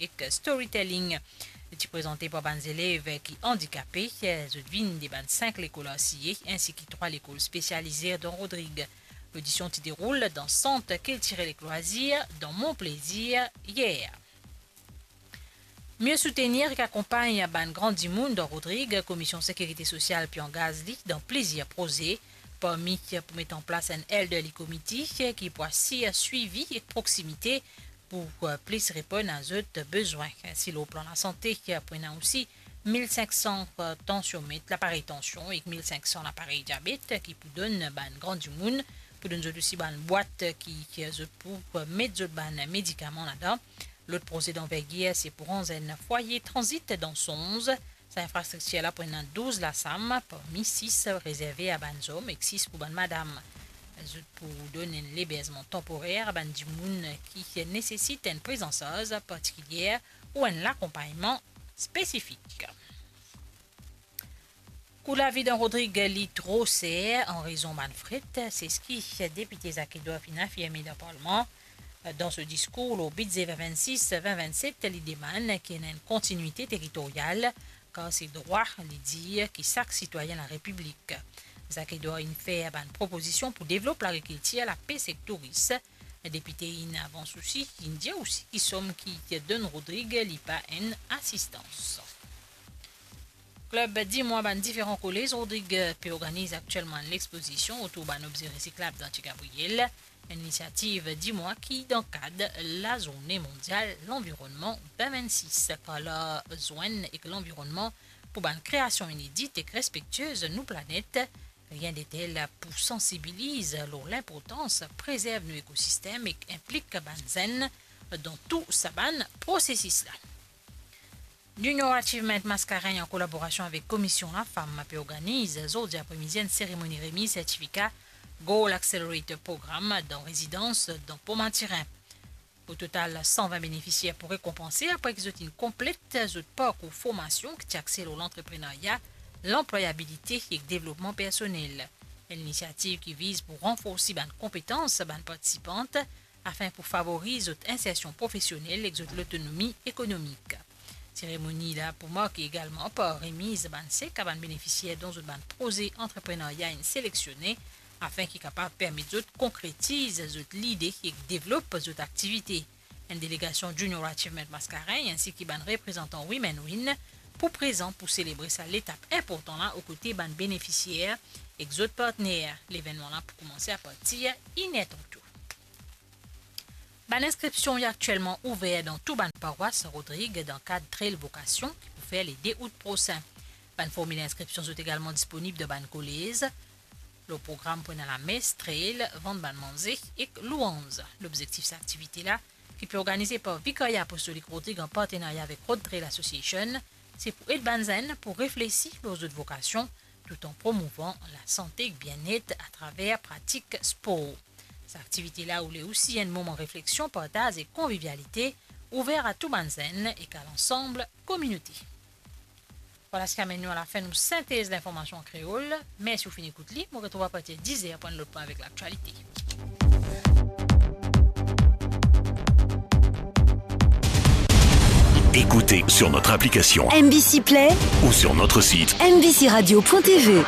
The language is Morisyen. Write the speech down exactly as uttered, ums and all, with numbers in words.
ek storytelling. Li ti prezante par bann zelev ki andikape, zot vinn de bann sink lekol R C A, ensi ki trwa lekol spesialize dan Rodrig. Lodision ti deroul dan Sant Kiltirel ek Lwazir, dan Mon Plezir, yer. Mie soutenir ek akonpagn bann gran dimoun dan Rodrig, Komisyon Sekirite Sosial pe angaz li dan plizier proze, parmi pou met an plas enn elderly committee ki pou asir swivi ek proksimite pou, eh, plis reponn a zot bezwin. Si lor plan lasante, pou ena osi mil sink san, eh, tansiomet, laparey tansion ek mil sink san laparey diabet ki pou donn bann gran dimoun, pou donn zot osi bann bwat ki, ki zot pou, eh, met zot bann medikaman ladan. Lot proze danvergir, se pou ranz enn fwaye tranzit dan Sonz. Sa infrastriktir la pou ena douz lasam, parmi sis rezerve a bann zom ek sis pou bann madam. Zot pou donn enn leberzman tanporer a bann dimoun ki nesesit enn prizansarz partikilier ou enn lakonpagnman spesifik. Kou lavi dan Rodrig li tro ser an rezon bann fret, se seki depite Zak Edward finn afirme dan parlman. Dan so diskour lor bidze vin vinn sis, vin vinn set, li demann ki ena enn kontinuite teritoryal, kar se drwa, li dir, ki sak sitwayin larepiblik. Zak Edward inn fer bann propozision pou devlop lagrikiltir, lapes ek touris. Depite inn avans osi, inn dir osi ki som ki donn Rodrig li pa enn asistans. Klib dimwa bann diferan kolez Rodrig pe organiz aktielman enn lexpozision otour bann obze resiklab dan Ti Gabriel, enn inisiativ dimwa ki dan kad Lazourne Mondial Lanvironnman vin vinn sis, kar larzwenn ek lanvironnman pou bann kreasion inedit ek respektiez nou planet. Rien detel pou sansibiliz lor linportans prezerv nou ekosistem ek inplik bann zenn dan tou sa bann prosesis la. Junior Achievement Mascarenhs, an kolaborasion avek Komisyon Lafam, pe organiz zordi apremidi enn seremoni remiz sertifika Goal Accelerator Program dan rezidans dan Pont Mathurin. O total, san vin benefisier pou rekonpanse apre ki zot inn konplet zot parkour formasion ki ti axe lor lantreprenarya, lanplwayabilite ek devlopman personel. Enn inisiativ ki viz pou ranforsi bann konpetans bann partisipan, afin pou favoriz zot insersion profesionel ek zot lotonomi ekonomik. Seremoni la pou marke egalman par remiz bann sek a bann benefisier dont zot bann proze antreprenarya inn selektione, afin ki kapav permet zot konkretiz zot lide ek devlop zot aktivite. Enn delegasion Junior Achievement Mascarenhs ensi ki bann reprezantan Women Win pou prezan pou selebre sa letap inportan la okote bann benefisier ek zot partner. Levennman la pou koumanse apartir inertan tou. Bann inskripsion inn aktielman ouver dan tou bann parwas Rodrig dan kad Trail Vocation ki pou fer le de out prosin. Bann formil inskripsion zot egalman disponib dan bann kolez. Lor program pou ena lames, trail, vant bann manze ek louanz. Lobzektif sa aktivite la, ki pe organize par Vikarya Apostolik Rodrig an partenarya avek Road Trail Association, se pou ed bann zenn pou reflesi lor zot vokasion, toutan promouvan lasante ek bienet atraver pratik spor. Sa aktivite la oule osi enn moman refleksion, partaz ek konvivialite, ouver a tou bann zenn ek a lansam kominote. Vwala seki amenn nou alafin nou sintez linformasion an kreol. Mersi ou finn ekout li. Mo retrouv apartir diz er pou enn lot pwin avek laktialite. Écoutez sur notre application M B C Play ou sur notre site M B C radio point T V.